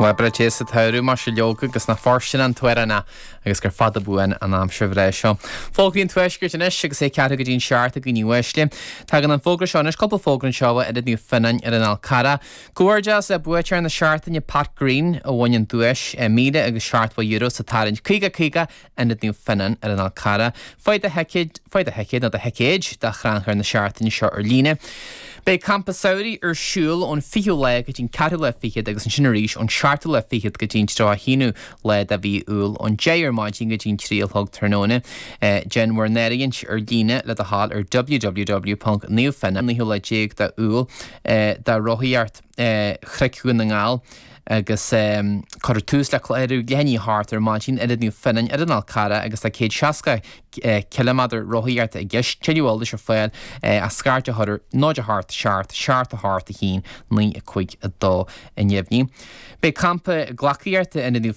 Bhuel, breá sa tsamhradh, mar sin leoga, agus nach fóirsteanach an t-amhrán é agus gur fada buan an aimsir bhreá seo. Fógraí an Tuaiscirt anois agus é ceathrú go dtí an seacht a dhaoine uaisle. Tagann an fógra seo anois, cúpla fógra anseo ó Ionad Naomh Fionnáin ar an Fhál Carrach. Comhghairdeas le buaiteoir na seachtaine Pat Greene a bhain an duais €1,070 sa tarraingt 50 50 Ionad Naomh Fionnáin ar an Fhál Carrach. Faigh do thicéad, faigh do thicéad nó do thicéid do chrannchur na seachtaine seo ar líne. Beidh Campa Samhraidh ar siúl ón 20ú lá go dtí an ceathrú lá fichead agus ansin arís ón seachtú lá fichead go dtí an 31ú lá de mhí Iúil ón 10 ar maidin go dtí an 3 a chlog tráthnóna. Déan bhur n-áirithint ar líne le do thoil ar www.naomhfionnan 19ú lá de Iúil do rothaíocht Chnoic Dhún na nGall agus cuirfear tús le ar leath i ndiaidh a hocht ar maidin Ionad Naomh Fionnáin ar an Fhál Carrach agus tá 160 ciliméadar rothaíochta i gceist. Tuilleadh eolais ar fáil ach scairt a chur ar 0 8 7 7 8 1 9 5 2 i ndeimhniú. Beidh campa gleacaíochta Ionad Naomh.